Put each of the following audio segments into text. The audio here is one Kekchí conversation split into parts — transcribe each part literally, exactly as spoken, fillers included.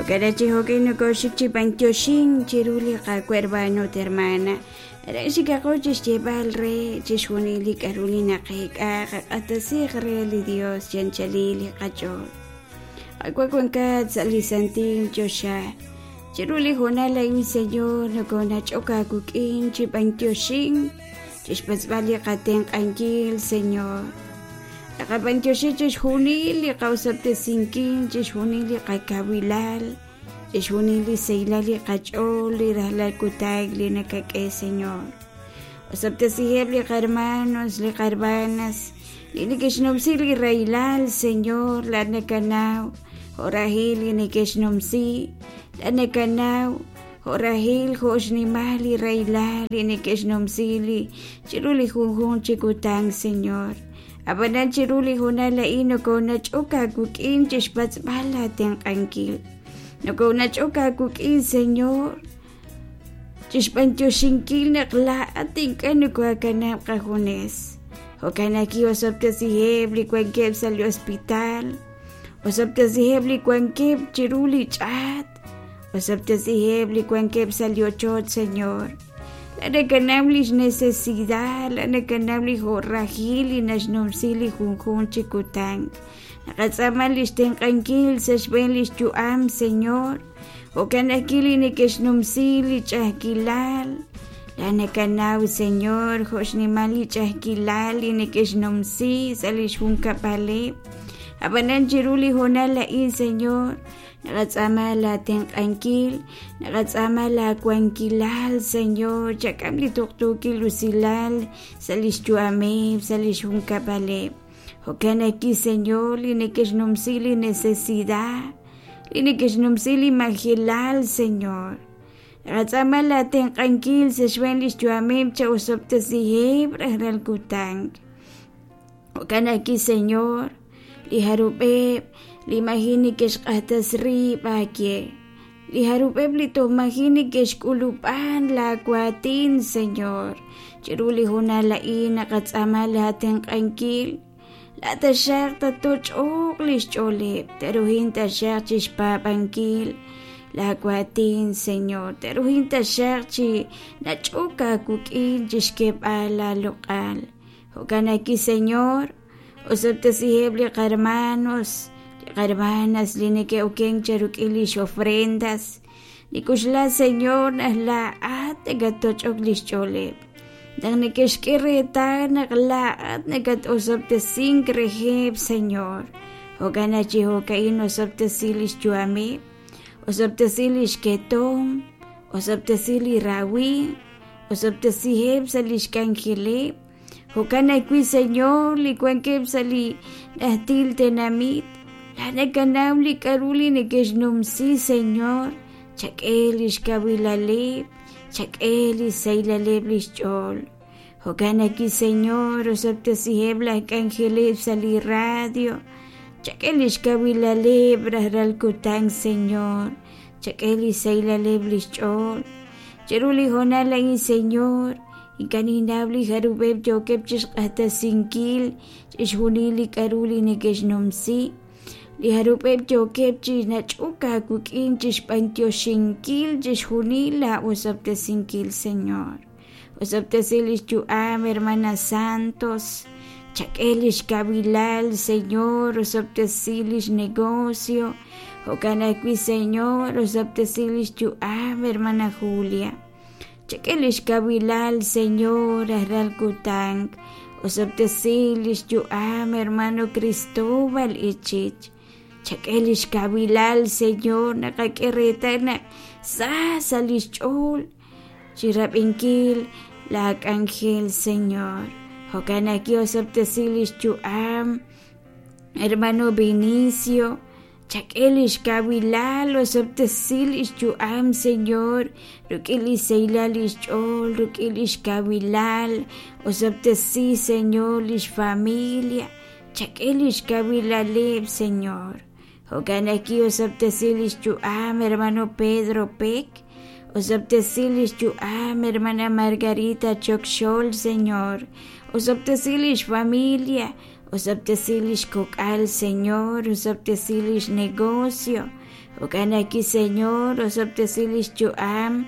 Jo'kan chi jo'kan nokoxik chi b'antioxink chiru li Qaawa' hermano ut hermana. Re xikaqo chixyeeb'al re chixjunil li k'a'ru li naqeek'a qaq'atasiq re li Dios chi anchalil li qach'ool. Qaawa' wankat sa' li santil choxa. Chiru li hoonal a'in, Señor, nokonach'ok aawik'in chi b'antioxink chixpatz'b'al li qatenq'ankil, Señor. Naqab'antioxi chixjunil li qawsab'tesinkil, chixjunil li qakawilal, chixjunil li saylal li qach'ool, li rajlal kutak li nakak'e, Señor. Osab'tesiheb' li qarmanos, li qarmanas, li neke'xnumsi li rahilal, Señor, la nakanaw, jo'rahil li neke'xnumsi, la nakanaw, jo'rahil jo'xnimal li rahilal li neke'xnumsi li chiru li junjunq chi kutan, Señor. Ab'anan chiru li hoonal a'in nokonach'ok aawik'in chixpatz'b'al aatenq'ankil. Nokonach'ok aawik'in, Señor, chixb'antioxinkil naq laa'at ink'a' nokoakanab' qajunes. Jo'kan naq osab'tesiheb' li wankeb' sa' li hospital, osab'tesiheb' li wankeb' chiru li ch'aat, osab'tesiheb' li wankeb' sa' li ochoch, Señor. La nakanaw lix necesidad, la nakanaw li jo'rajil li naxnumsi li junjunq chi kutan. Naqatz'aama lix tenq'ankil sa' xb'een lix yu'am, Señor. Jo'kan ajwi' li neke'xnumsi li ch'a'ajkilal. La nakanaw, Señor, jo'xnimal li ch'a'ajkilal li neke'xnumsi sa' lix junkab'aleb'. Ab'anan chiru li hoonal a'in, Señor, naqatz'aama laatenq'ankil, naqatz'aama laawankilal, Señor, chak'am li tuqtuukil usilal sa' lix yu'ameb', sa' lix junkab'aleb'. Jo'kan ajwi', Señor, li neke'xnumsi li necesidad, li neke'xnumsi li majilal, Señor. Naqatz'aama laatenq'ankil sa' xb'een lix yu'ameb' cha'osob'tesiheb' rajlal kutan. Jo'kan ajwi', Señor, li jarub'eb' li maji neke'xq'ajtas rib' aawe, li jarub'eb' li toj maji neke'xk'ulub'an laawaatin, Señor. Chiru li hoonal a'in naqatz'aama laatenq'ankil, la taxaq tatoch'oq lix ch'ooleb', te'ruhin taxaq chixpaab'ankil laawaatin, Señor, te'ruhin taxaq chi nach'ok aawik'in chixk'eeb'al laaloq'al. Jo'kan ajwi', Señor, osab'tesiheb' li qarmanos, li qarmanas li neke'okenk cheruk'in lix ofrendas. Nikuxla, Señor, naq laa'at nakatoch'ok lix ch'ooleb'. Naq neke'xk'e reetal naq laa'at nakat'osob'tesink reheb', Señor. Jo'kan naq chi jo'ka'in osob'tesi lix yu'ameb', osob'tesi lix ketom, osob'tesi li rawimq, osob'tesiheb' sa' lix k'anjeleb'. Jo'kan ajwi', Señor, li wankeb' sa' li najtil tenamit, la nakanaw li k'a'ru li neke'xnumsi, Señor, chak'e lix kawilaleb', chak'e li saylaleb' lix ch'ool. Jo'kan ajwi', Señor, osob'tesiheb' laj k'anjeleb' sa' li radio, chak'e lix kawilaleb' rajlal kutan, Señor, chak'e li saylaleb' lix ch'ool. Chiru li hoonal a'in, Señor, ink'a' ninnaw li jarub'eb' yookeb' chixq'ajtasinkil chixjunil li k'a'ru li neke'xnumsi, li jarub'eb' yookeb' chi nach'ok aawik'in chixb'antioxinkil chixjunil laa'osob'tesinkil, Señor. Osob'tesi lix yu'am, hermana Santos, chak'e lix kawilal, Señor, osob'tesi lix negocio. Jo'kan ajwi', Señor, osob'tesi lix yu'am, hermana Julia. Chak'e lix kawilal, Señor, rajlal kutan. Osob'tesi lix yu'am, hermano Cristóbal Ichich. Chak'e lix kawilal, Señor, naqak'e reetal naq sa sa lix ch'ool chirab'inkil laak'anjel, Señor. Jo'kan ajwi' osob'tesi lix yu'am, hermano Vinicio. Chak'e lix kawilal, osob'tesi lix yu'am, Señor, ruk'in li saylal lix ch'ool, ruk'in lix kawilal, osob'tesi, Señor, lix familia, chak'e lix kawilaleb', Señor. Jo'kan ajwi' osob'tesi lix yu'am, hermano Pedro Peck, osob'tesi lix yu'am, hermana Margarita Chokxol, Señor, osob'tesi lix familia, osob'tesi lix kok'al, Señor, osob'tesi lix negocio. Jo'kan ajwi', Señor, osob'tesi lix yu'am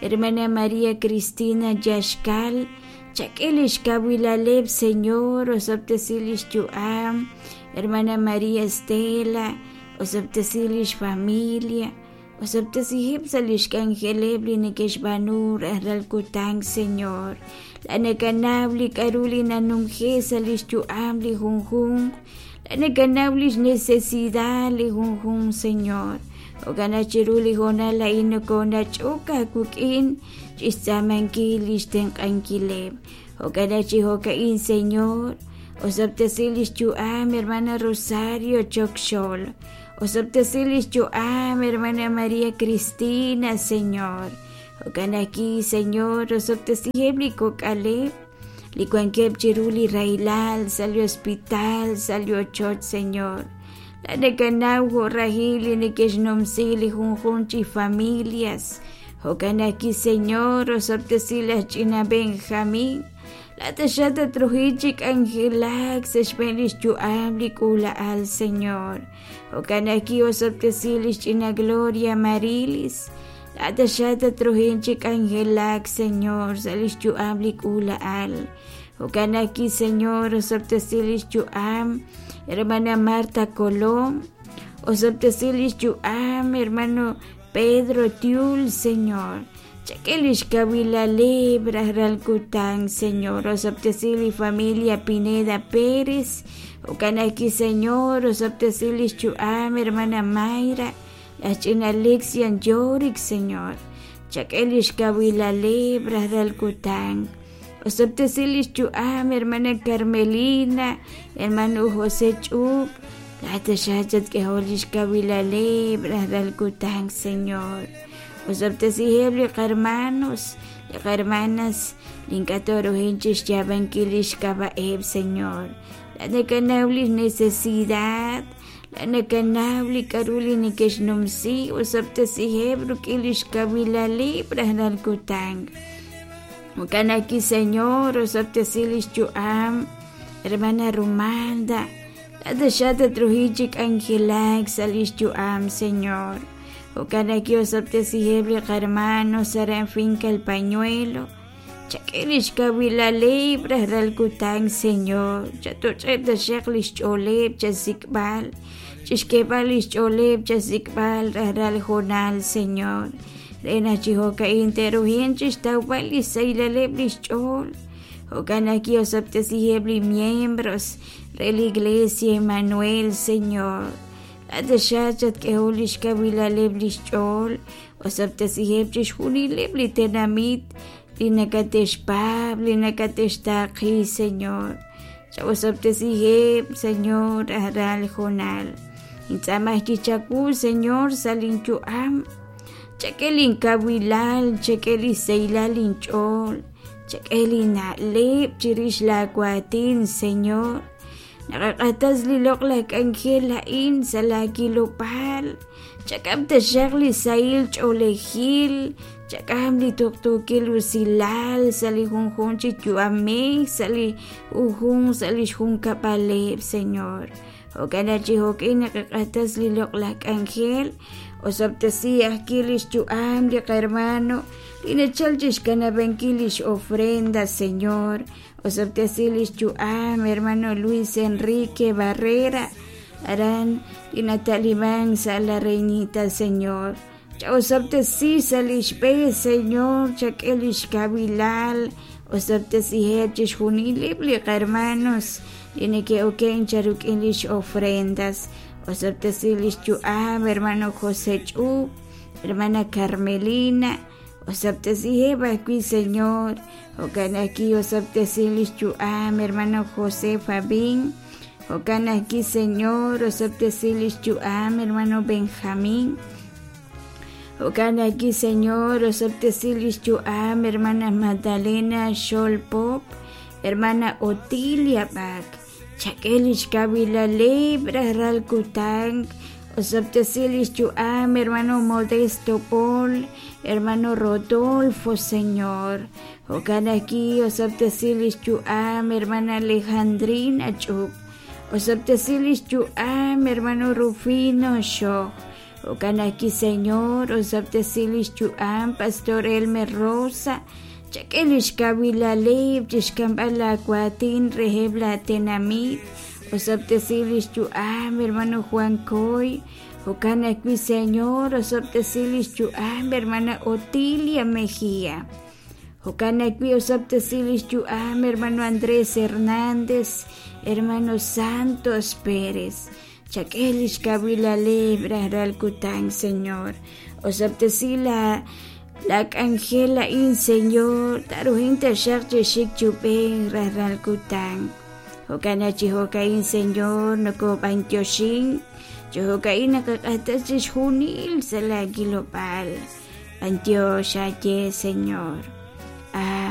hermana María Cristina Yaxkal, chak'e lix kawilaleb', Señor, osob'tesi lix yu'am hermana María Estela, osob'tesi lix familia, osob'tesiheb' sa' lix k'anjeleb' li neke'xb'aanu rajlal kutan, Señor. La nakanaw li k'a'ru li nanumje' sa' lix yu'am li junjunq, la nakanaw lix necesidad li junjunq, Señor. Jo'kan naq chiru li hoonal a'in nokonach'ok aawik'in chixtz'aamankil lix tenq'ankileb'. Jo'kan naq chi jo'ka'in, Señor, osob'tesi lix yu'am hermana Rosario Chokxol, osob'tesi lix yu'am hermana María Cristina, Señor. Jo'kan ajwi', Señor, osob'tesiheb' li kok'aleb' li wankeb' chiru li rahilal sa' li hospital, sa' li ochoch, Señor. La nakanaw jo' rahil li neke'xnumsi li junjunq chi familias. Jo'kan ajwi', Señor, osob'tesi laj ch'ina Benjamín. La taxaq tatruji chi k'anjelak sa' xb'een lix yu'am li k'uula'al, Señor. Jo'kan ajwi' osob'tesi lix ch'ina Gloria Marilis. La taxaq tatruji chi k'anjelak, Señor, sa' lix yu'am li k'uula'al. Jo'kan ajwi', Señor, osob'tesi lix yu'am hermana Marta Colón, osob'tesi lix yu'am hermano Pedro Tiul, Señor. Chak'e lix kawilaleb' rajlal kutan, Señor. Osob'tesi li familia Pineda Pérez. Jo'kan ajwi', Señor, osob'tesi lix yu'am hermana Mayra, laj ch'ina Alexian Yorick, Señor. Chak'e lix kawilaleb' rajlal kutan. Osob'tesi lix yu'am hermana Carmelina, hermano José Ch'ub, la taxaq chatk'ehol lix kawilaleb' rajlal kutan, Señor. Osob'tesiheb' li qarmanos, li qarmanas, li ink'a' toruhin chixyaab'ankil lix k'ab'a'eb', Señor. La nakanaw lix necesidad, la nakanaw li k'a'ru li neke'xnumsi, osob'tesiheb' rik'in lix kawilaleb' rajlal kutan. Jo'kan ajwi', Señor, osob'tesi lix yu'am hermana Rumalda, la taxaq tatruji chi k'anjelak sa' lix yu'am, Señor. Jo'kan ajwi' osob'tesiheb' li qarmanos aran Finca El Pañuelo, chak'e lix kawilaleb' rajlal kutan, Señor. Chatoch'eb' taxaq lix ch'ooleb' chasik'b'al, chixk'eeb'al lix ch'ooleb' chasik'b'al rajlal hoonal, Señor. Re naq chi jo'ka'in te'rujin chixtawb'al li saylaleb' lix ch'ool. Jo'kan ajwi' osob'tesiheb' li miembros re li Iglesia Emanuel, Señor. La taxaq chatk'ehol lix kawilaleb' lix ch'ool, osob'tesiheb' chixjunileb' li tenamit li nakatexpaab', li nakatextaaqi, Señor. Chawosob'tesiheb', Señor, rajlal hoonal. Intz'aamaj kichawu, Señor, sa' linyu'am. Chak'e linkawilal, chak'e li saylal linch'ool, chak'e li na'leb' chirix laawatin, Señor. Naqaq'atas li loq'laj k'anjel a'in sa' laakilob'aal. Chak'am taxaq li sahil ch'oolejil, chak'am li tuqtuukil usilal sa' li junjunq chi yu'amej, sa' li junjunq sa' lix junkab'aleb', Señor. Jo'kan naq chi jo'kin naqaq'atas li loq'laj k'anjel, osob'tesi ajwi' lix yu'am li qarmano li nachal chixkanab'ankil lix ofrenda, Señor. Osob'tesi lix yu'am hermano Luis Enrique Barrera, aran li nataliman sa' la Reinita, Señor. Chaosob'tesi sa' lix b'e, Señor, chak'e lix kawilal, osob'tesiheb' chixjunileb' li qarmanos li neke'oken charuk'in lix ofrendas. Osob'tesi lix yu'am hermano José Ch'ub, hermana Carmelina, osob'tesiheb' ajwi', Señor. Jo'kan ajwi' osob'tesi lix yu'am hermano José Fabín, jo'kan ajwi', Señor, osob'tesi lix yu'am hermano Benjamín, jo'kan ajwi', Señor, osob'tesi lix yu'am hermana Magdalena Xolpop, hermana Otilia Bak, chak'e lix kawilaleb' rajlal kutan, osob'tesi lix yu'am hermano Modesto Paul, hermano Rodolfo, Señor. Jo'kan ajwi' osob'tesi lix yu'am hermana Alejandrina Ch'ub, osob'tesi lix yu'am hermano Rufino Xoj, Jo'kan ajwi', Señor, osob'tesi lix yu'am Pastor Elmer Rosa, chak'e lix kawilaleb' chixk'amb'al laawaatin reheb' laatenamit, osob'tesi lix yu'am hermano Juan Coy, jo'kan ajwi', Señor, osob'tesi lix yu'am hermana Otilia Mejía. Jo'kan ajwi' osob'tesi lix yu'am hermano Andrés Hernández, hermano Santos Pérez. Chak'e lix kawilaleb' rajlal kutan, Señor. Osob'tesi la la k'anjel a'in, Señor, taruhin taxaq chixik chub'en rajlal kutan. Jo'kan chi jo'ka'in, Señor, nokob'antioxin, chi jo'ka'in naqaq'ajtas chixjunil sa' la kilob'aal. B'antiox aye, Señor.